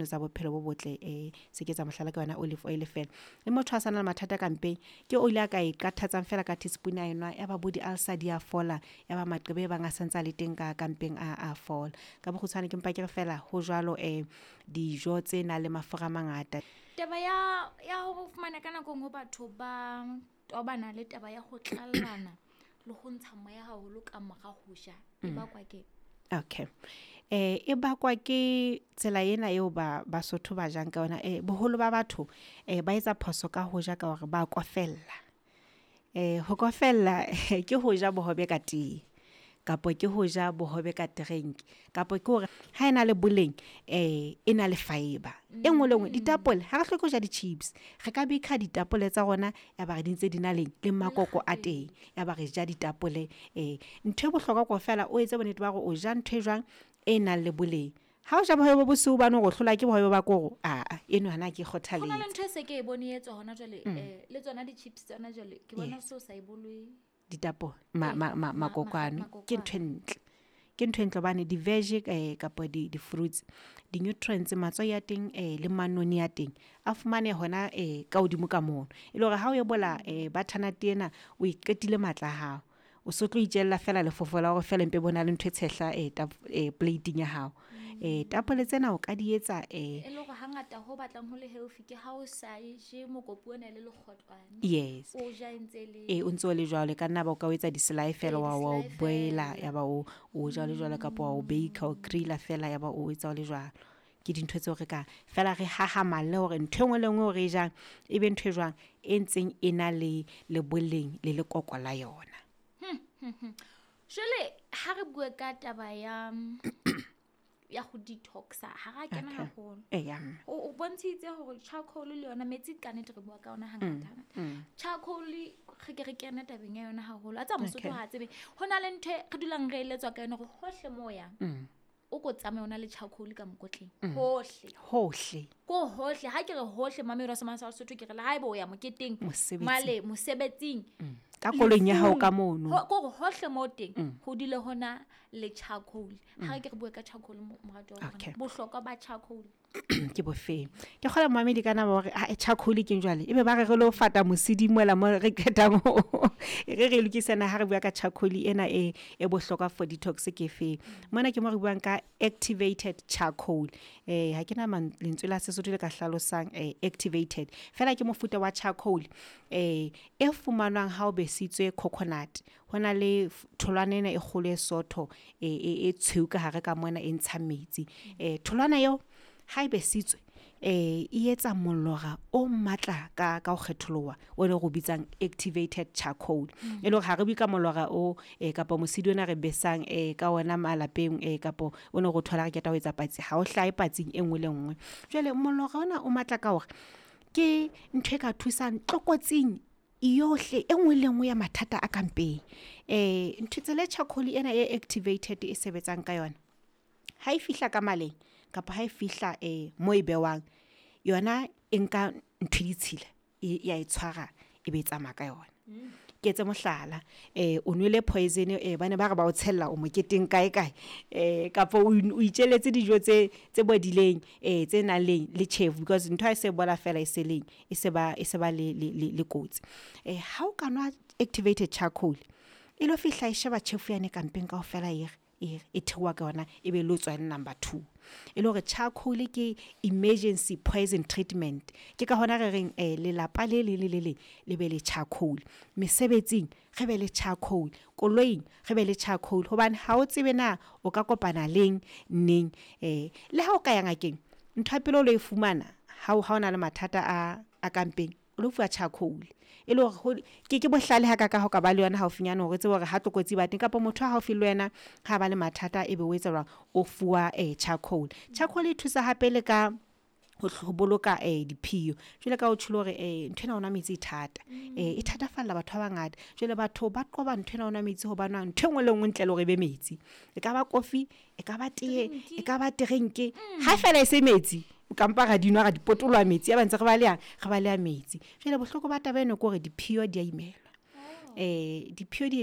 tseno tsa bophelo bo botle. Se ke tsa mohlala ka yona olive oil fela. Le motho a sa na le mathata ka mpeng, ke oli a ka e qathatsang fela ka teaspoon a enwa, ya ba bo di-ulcer di a fola, ya ba maqeba e bang a santse a le teng ka mpeng a fola. Ka bokgutshwane ke mpa ke re fela ho jwalo, dijo tse nang le mafura a mangata. Taba ya hore o fumane ka nako e nngwe batho ba tobana le taba ya ho tlallana le ho ntsha moya haholo ka mora ho ja, e bakwa ke? Okay. E bakwa ke tsela ena eo ba Basotho ba jang ka yona. Boholo ba batho ba etsa phoso ka ho ja ka hore ba kofella. Ho kofella ke ho ja bohobe ka tee, kapa ke ho ja bohobe ka drink, kapa ke hore ha ena le boleng, e na le fibre. E nngwe le nngwe, ditapole ha re hloke ho ja di-chips, re ka beka ditapole tsa rona ya ba re di ntse di na le makoko a teng, ya ba re ja ditapole. Ntho e bohlokwa kaofela, o etse bonnete ba hore o ja ntho e jwang e nang le boleng. Ha o ja bohobe bo bosweu bane hore o hlola ke bohobe ba koro, aa eno hana ke Ho na le kgothaletse. ntho e se ke e bone e etswa hona jwale, le tsona di-chips tsona jwale ke bona so sa e bolwe. Ditapole, makokwane ke ntho e ntle. Ke ntho e ntle hobane di-veg kapa di-fruits, di-nutrients, matswai a teng, le manoni a teng a fumane hona ka hodimo ka mono. E le hore ha o ebola butternut ena, o e qetile matla a hao, o so tlo itjella fela lefofo la hore fela empe bona le ntho e tshehla plate-ing ya hao. Tapole tsena o ka di etsa, E le hore hangata ho batlang ho le healthy ke ha o sa e je mokopu ona le lekgotlwane. Yes. O ja e ntse le O ntso le jwalo, ka nna ba o ka o etsa di-slaai fela, wa o di-slaai boila, fela. ya ba o ja le jwalo, kapa wa o bake, o griller fela, ya ba o etsa o le jwalo. Ke dintho tseo re ka fela re hahamalle hore ntho e nngwe le nngwe o re jang e be ntho e jwang e ntseng e na le boleng le lekoko la yona. Jwale ha re bue ka taba ya ho detoxa, ha ra kena haholo. Eya, mme. O bontshitse hore charcoal le yona metsi ka nnete re bua ka yona hangata hangata. Charcoal re ke re kene tabeng ya yona haholo. A tsa Mosotho ha tsebe. Ho na le ntho e re dulang re eletswa ka yona hore hohle moo o yang, o ko tsamaye o na le charcoal ka mokotleng. Hohle. Hohle. Ko hohle. Ha ke re hohle, mamedi wa Semane sa Sesotho, ke re le haeba o ya moketeng, Mosebetsing. male mosebetsing. Ka koloing ya hao ka Lefung. mono. Ko re hohle moo teng, ho dule hona le charcoal. Ha re ke re bue ka charcoal, moratuwa wa rona. Bohlokwa ba charcoal. Ke bofeng? Ke kgola momamedi ka nama hore, charcoal ke eng jwale? Ebe ba re re lo fata mosidi mola mo re qetang ho re re lokisana ha re bua ka charcoal ena e bohlokwa for detox ke feng? Mona ke mo re buang ka activated charcoal. Ha ke na lentswe la Sesotho le ka hlalosang, activated. Fela ke mofuta wa charcoal, e fumanwang ha o besitswe coconut. Ho na le tholwana ena e kgolo e sotho, e tshweu ka hare ka mona e ntshang metsi. Tholwana eo ha e besitswe, e etsa molora o matla ka ho kgetholoha, o le re o bitsang activated charcoal. E le hore ha re bue ka molora o, kapa mosidi ona re besang, ka ona malapeng, kapa o no re o thola re qeta ho etsa patsi, ha o hlahe patsing e nngwe le nngwe. Jwale molora ona o matla ka hore ke ntho e ka thusang tlokotsing yohle e nngwe le nngwe ya mathata a ka mpeng. Ntho tsela e charcoal ena e activated e sebetsang ka yona, ha e fihla ka maleng kapa ha e fihla, mo e bewang, yona e nka ntho e ditshila, ya e tshwara, e be e tsamaya ka yona. Ke etse mohlala, o nwele poison, bane ba re ba o tshella o moketeng kae kae, kapa o itjelletse dijo tse bodileng, tse nang le tjhefu, because ntho ha e se bola fela e se leng, e se ba, e se ba le kotsi. Ha o ka nwa activated charcoal, e lo fihla e sheba tjhefu yane ka mpeng kaofela, e re, e theoha ka yona, e be lo tswa number 2. E le hore charcoal ke emergency poison treatment. Ke ka hona re reng, lelapa le leng le le leng le be le charcoal. Mesebetsing re be le charcoal, koloing re be le charcoal, hobane ha o tsebe na o ka kopana leng neng. Le ha o ka ya ngakeng, ntho ya pele o lo e fumana ha o na le mathata a ka mpeng, o lo fuwa charcoal. E le hore ke bohlale ha ka ka ho ka ba le yona haufinyana, hore o tsebe hore ha tlokotsi ba teng kapa motho a haufi le wena ha ba le mathata, ebe o etsa jwang, o fuwa, charcoal. Charcoal e thusa hape le ka ho boloka, diphio. Jwale ka o tjholo hore, ntho ena o nwa metsi e thata, e thatafalla batho ba bangata. Jwale batho ba qoba ntho ena o nwa metsi hobane ntho e nngwe le nngwe ntle le hore e be metsi. E ka ba kofi, e ka ba tee, e ka ba drink, ha fela e se metsi, kampa ra di nwa ra di potoloha metsi, ya ba ntse re baleha, re baleha metsi. Jwale bohloko ba taba ena ke hore diphio di a imelwa. Diphio di